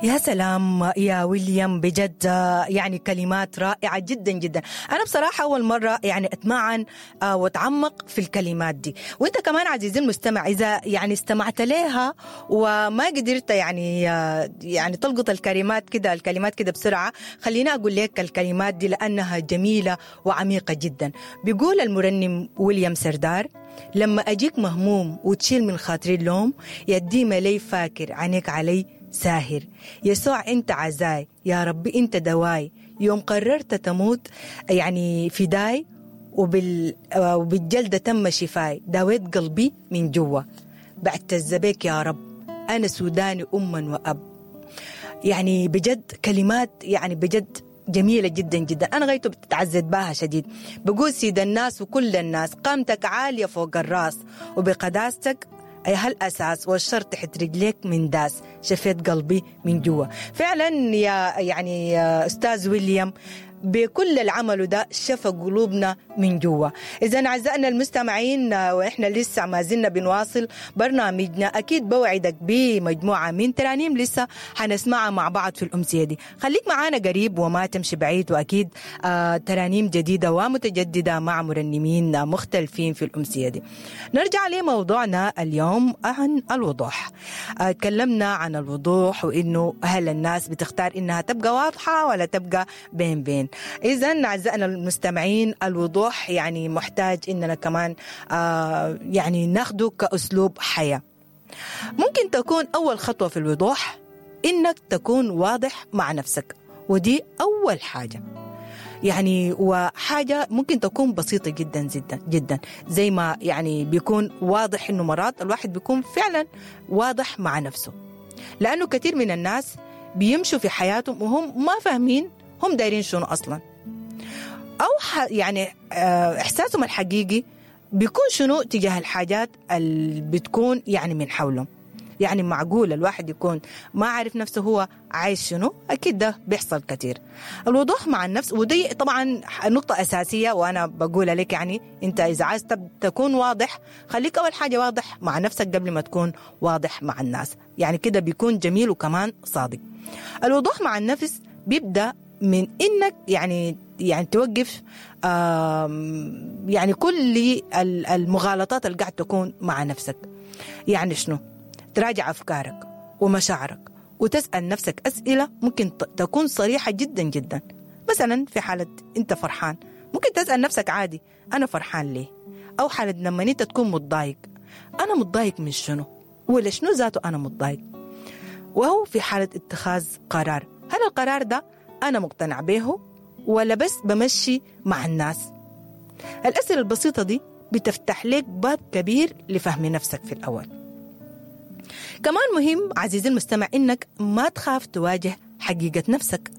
يا سلام يا ويليام، بجد يعني كلمات رائعة جدا جدا. أنا بصراحة أول مرة يعني أتمعن وأتعمق في الكلمات دي، وأنت كمان عزيزي المستمع إذا يعني استمعت لها وما قدرت يعني تلقط الكلمات كده بسرعة، خليني أقول لك الكلمات دي لأنها جميلة وعميقة جدا. بيقول المرنم ويليام سردار: لما أجيك مهموم وتشيل من خاطري اللوم، يا الديمة لي فاكر عينيك علي ساهر، يسوع انت عزاي، يا ربي انت دواي، يوم قررت تموت يعني فداي، وبالجلدة تم شفاي، داويت قلبي من جوا، بعتز بك يا رب، أنا سوداني أما وأب. يعني بجد كلمات يعني بجد جميلة جدا جدا، أنا غايته بتعزيت بها شديد. بقول سيد الناس وكل الناس، قامتك عالية فوق الراس، وبقداستك ياها الأساس، والشر تحت رجليك من داس، شفيت قلبي من جوا. فعلا يا يعني يا أستاذ ويليام، بكل العمل ده شفى قلوبنا من جوا. اذا اعزائنا المستمعين، واحنا لسه ما زلنا بنواصل برنامجنا، اكيد بوعدك بمجموعه من ترانيم لسه حنسمعها مع بعض في الامسيه دي. خليك معانا قريب وما تمشي بعيد، واكيد ترانيم جديدة ومتجدده مع مرنمين مختلفين في الامسيه دي. نرجع لموضوعنا اليوم عن الوضوح. تكلمنا عن الوضوح وانه هل الناس بتختار انها تبقى واضحة ولا تبقى بين بين. اذا اعزائنا المستمعين، الوضوح يعني محتاج اننا كمان يعني ناخده كاسلوب حياة. ممكن تكون اول خطوة في الوضوح انك تكون واضح مع نفسك، ودي اول حاجة يعني، وحاجة ممكن تكون بسيطة جدا جدا جدا، زي ما يعني بيكون واضح انه مرات الواحد بيكون فعلا واضح مع نفسه، لأنه كثير من الناس بيمشوا في حياتهم وهم ما فاهمين هم دايرين شنو أصلا، أو يعني إحساسهم الحقيقي بيكون شنو تجاه الحاجات اللي بتكون يعني من حولهم. يعني معقول الواحد يكون ما عارف نفسه هو عايز شنو؟ أكيد ده بيحصل كتير. الوضوح مع النفس، ودي طبعا نقطة أساسية وأنا بقولها لك، يعني أنت إذا عايز تكون واضح، خليك أول حاجة واضح مع نفسك قبل ما تكون واضح مع الناس، يعني كده بيكون جميل وكمان صادق. الوضوح مع النفس بيبدأ من انك يعني توقف يعني كل المغالطات اللي قاعد تكون مع نفسك. يعني شنو؟ تراجع افكارك ومشاعرك وتسال نفسك اسئلة ممكن تكون صريحه جدا جدا. مثلا في حاله انت فرحان، ممكن تسال نفسك عادي: انا فرحان ليه؟ او حاله لما انت تكون متضايق: انا متضايق من شنو؟ ولا شنو ذاته انا متضايق؟ وهو في حاله اتخاذ قرار: هل القرار ده أنا مقتنع به ولا بس بمشي مع الناس؟ الأسئلة البسيطة دي بتفتح لك باب كبير لفهم نفسك في الأول. كمان مهم عزيزي المستمع إنك ما تخاف تواجه حقيقة نفسك.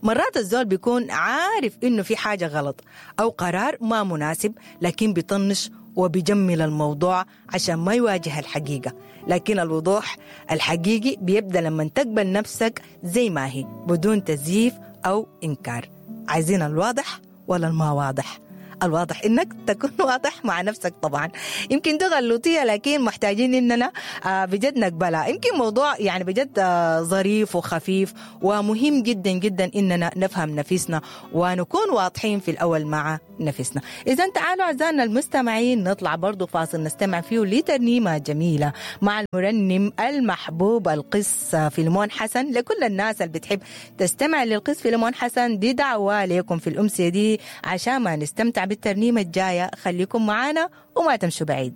مرات الزول بيكون عارف إنه في حاجة غلط أو قرار ما مناسب، لكن بيطنش وبيجمل الموضوع عشان ما يواجه الحقيقة. لكن الوضوح الحقيقي بيبدأ لما تقبل نفسك زي ما هي بدون تزييف أو إنكار. عايزين الواضح ولا الما واضح؟ الواضح انك تكون واضح مع نفسك. طبعا يمكن دي غلوطيه، لكن محتاجين اننا بجد نقبلها. يمكن موضوع يعني بجد ظريف وخفيف ومهم جدا جدا اننا نفهم نفسنا ونكون واضحين في الاول مع نفسنا. اذا تعالوا اعزائنا المستمعين نطلع برضو فاصل نستمع فيه لترنيمه جميلة مع المرنم المحبوب القس فيلمون حسن. لكل الناس اللي بتحب تستمع للقس فيلمون حسن، دي دعوه لكم في الامسيه دي عشان ما نستمتع بالترنيمه الجاية. خليكم معانا وما تمشوا بعيد.